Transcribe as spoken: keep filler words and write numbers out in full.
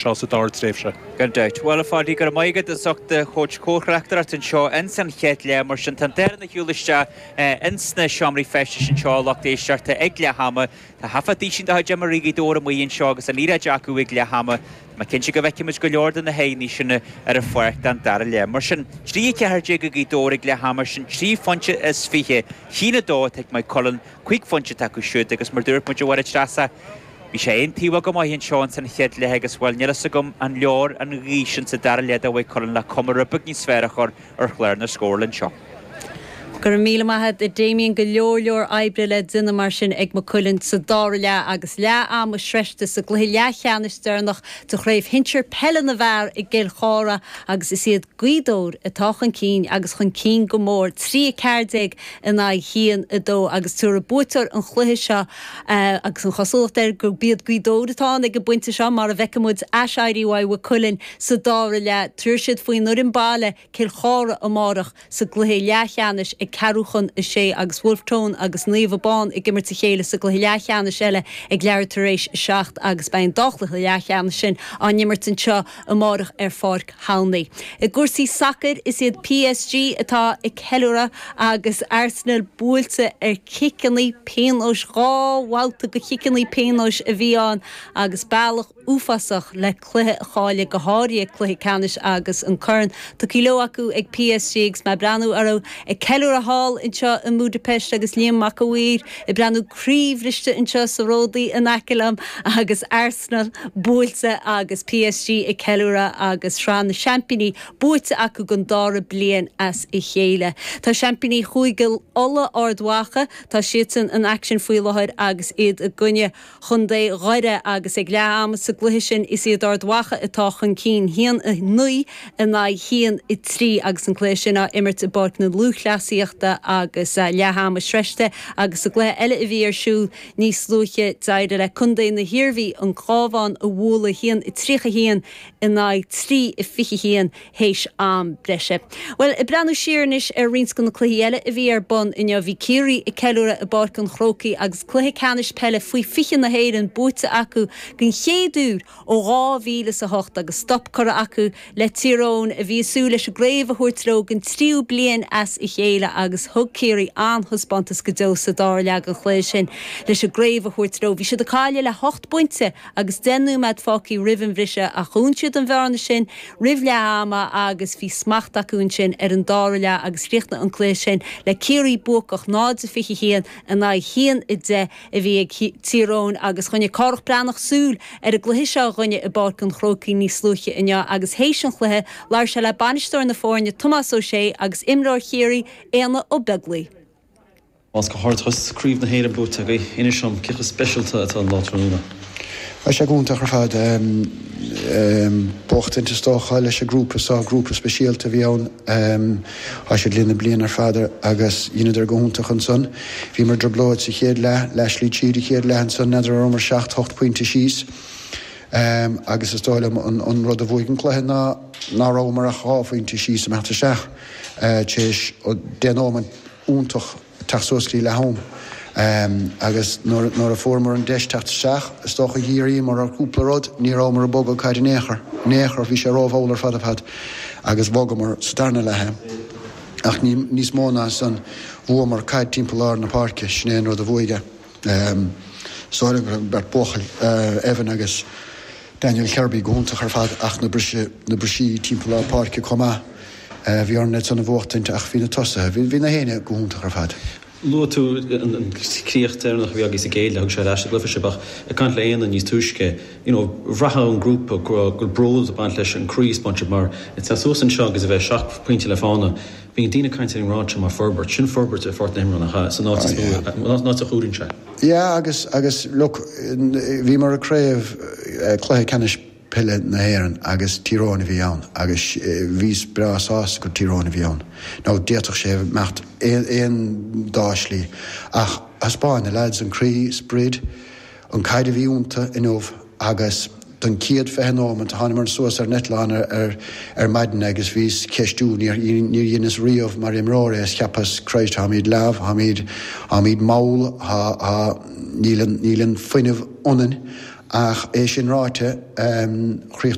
seo sa dara tréimhse. Gan dabht. Bhuel, a Pháidí, go raibh maith agat as ucht do chuid comhthráchtaireacht anseo ins an chéad leath. Mar sin, tá an darna shiúl isteach ins na seomraí feistis anseo, a lucht éisteachta, ag leath ama. Tá taifead de chuid imreoirí Ghaoth Dobhair amuigh anseo agus an liathróid acu ag leath ama. Tá mé cinnte go bhfeicfimid go leor de na haghaidheanna sin ar an pháirc don dara leath. Mar sin, trí a ceathair déag ag Gaoth Dobhair ag leath ama, sin trí phointe is fiche. Haon a dó atá ag Maigh Cuilinn, cúig phointe atá acu siúd agus mar dúirt muid a Mháire Treasa, Bhí sé aontaobhach go maith anseo ins an chéad leath agus, bhuel, níl fhios agam an leor an ghaoth sin sa dara leath do Mhaigh Cuilinn le cuma rud beag níos fearr a chur ar chlár na scórála anseo. Go raibh míle maith agat, a Damien. Go leor leor oibre le déanamh mar sin ag Maigh Cuilinn sa dara leath agus leath ama sroichte sa gcluiche leathcheannais deireanach de Chraobh Shinsir Peile na bhFear i gCill Chartha agus is iad Gaoth Dobhair atá chun cinn agus chun cinn go mór, trí a ceathair déag in aghaidh haon a dó agus tabharfaidh buaiteoir an chluiche seo agus an chosúlacht air gurb iad Gaoth Dobhair atá ann ag an bpointe seo mar a bhfeicfidh muid aiséirí uaidh Mhaigh Cuilinn sa dara leath. Tabharfaidh siad faoin fhoireann baile Cill Chartha amárach sa gcluiche leathcheannais ag ceathrú chun a sé agus Wolfe Tone agus Naomh Abán ag imirt a chéile sa gcluiche leathcheannais eile ag leathuair tar éis a seacht agus beidh an dá chluiche leathcheannais sin á n-imirt anseo amárach ar Pháirc Thomhney. I gcúrsaí sacair is iad P S G atá ag ceiliúradh agus Arsenal buailte ar chiceanna pionóis. Dhá bhabhta de chiceanna pionóis a bhí ann agus bealach uafásach le cluiche a chailleadh, go háirithe cluiche ceannais, agus an corn tugtha leo acu ag P S G agus mé ag breathnú orthu ag ceiliúradh thall anseo i mBudapest agus Liam Mac a' Mhaoir ag breathnú croíbhriste anseo sa ródaí in aice liom agus Arsenal buailte agus P S G ag ceiliúradh agus Sraith na Seaimpíní buaite acu don dara bliain as a chéile. Tá seaimpíní Chúige Uladh, Ard Mhacha, tá siadsan in aicsean faoi láthair agus iad i gcoinne Chontae Dhoire agus ag leath ama sa gcluiche sin is iad Ard Mhacha atá chun cinn, haon a naoi in aghaidh haon a trí, agus an cluiche sin á imirt i bPáirc na Lúthchleasaíochta agus leath ama sroichte. Agus sa gcluiche eile a bhí ar siúl níos luaithe, d'éirigh le Contae na hIarmhí an Cabhán a bhualadh, haon a tríocha haon in aghaidh trí a fiche haon théis am breise. Well, ag breathnú siar anois ar roinnt de na cluichí eile a bhí ar bun inniu, bhí Ciarraí ag ceiliúradh i bPáirc an Chrócaigh agus cluiche ceannais peile faoi fiche na hÉireann buaite acu den chéad uair ó dhá mhíle is a hocht agus stop curtha acu le Tír Eoghain a bhí ag súil leis an gcraobh a thabhairt leo den tríú bliain as a chéile. Agus thug Ciarraí an-thaispeántas go deo sa dara leath den chluiche sin leis an gcraobh a thabhairt leo. Bhí siad ag cailleadh le hocht bpointe agus deich nóiméad fágtha roimh an bhriseadh ach dhún siad an bhearna sin roimh leath ama agus bhí smacht acu ansin ar an dara leath agus chríochnaigh an cluiche sin le Ciarraí buacach, náid a fiche haon in aghaidh haon a deich a bhí ag Tír Eoghain. Agus choinnigh Cárthach Breathnach súil ar an gcluiche seo againne i bPáirc an Chrócaigh níos luaithe inniu agus théis an chluiche labhair sé le bainisteoir na foirne Tomás Ó Sé agus imreoir Chiarraí Éanna Ó Beaglaoi. Más go hardchas Craobh na hÉireann buaite agaibh, inis dom cé chomh speisialta atá an lá tráthnóna. Tá sé iontach ar fad buachtaint is dócha leis an grúpa seo, grúpa speisialta a bhí ann. Tá siad linn na bliana ar fad agus dheineadar go hiontach ansan. Bhíomar i dtrioblóid sa chéad leath, leathshlí tríd an chéad leath ansan, n'fheadar an rabhamar seacht, hocht pointe síos. Agus is dóigh liom an rud a bhuaigh an cluiche ná ná rabhamar ach dhá phointe síos ag imeacht isteach tar éis deich nóiméad iontach teacht suas go dtí leath am. Agus nuair a fuaireamar an deis teacht isteach, is dócha dhíríomar ar chúpla rud, ní rabhamar ag bogadh caid in aon chor, in aon chor, bhí sé rómhall ar fad ar fad agus bhogamar sa darna leath. Ach ní níos mó ná san, bhuamar caid timpeall lár na páirce, sin é an rud a bhuaigh é. Is dóigh liom go raibh beirt buachaill, Evan agus Daniel Kirby, go hiontach ar fad ach na briseadh, na brisí timpeall lár páirce chomh maith. Bhí orainn iad san a bhuachtaint ach bhí na tosaithe, bhí, bhí na héinne go hiontach ar fad. Luaigh tú an críoch deireanach a bhí agaibh sa gcéad leath, thug sé ar ais an gcluiche sibh, ach ag caint le Éanna níos túisce, you know, bhraithfeá an grúpa go raibh bród ag baint leis an croí a thaispeáin sibh mar ag teacht suas anseo agus a bheith seacht pointe le fána, bíonn daoine ag caint ar an ngrád seo mar forbairt, sin forbairt ar pháirc na himeartha, nach ea, san áit is mó, an áit a chuireann sé. Yeah, agus, agus look, bhíomar i craobh cluiche ceannais peile na hÉireann agus Tír Eoghain a bhí ann agus bhíos breá sásta gur Tír Eoghain a bhí ann. Now d'fhéadfadh sé imeacht aon dá shlí ach thaispeáin na lads an croí, sprid, an caid a bhí iontu inniu agus don chéad fiche nóiméad thánamar suas ar an eitleán ar ar maidin agus bhíos ceistiú, níor níor dheineas riamh mar imreoir é, is cheapas, Christ, táimid leamh, táimid táimid mall, tá tá níl an níl an fuinneamh ionainn. Ach é sin ráite um,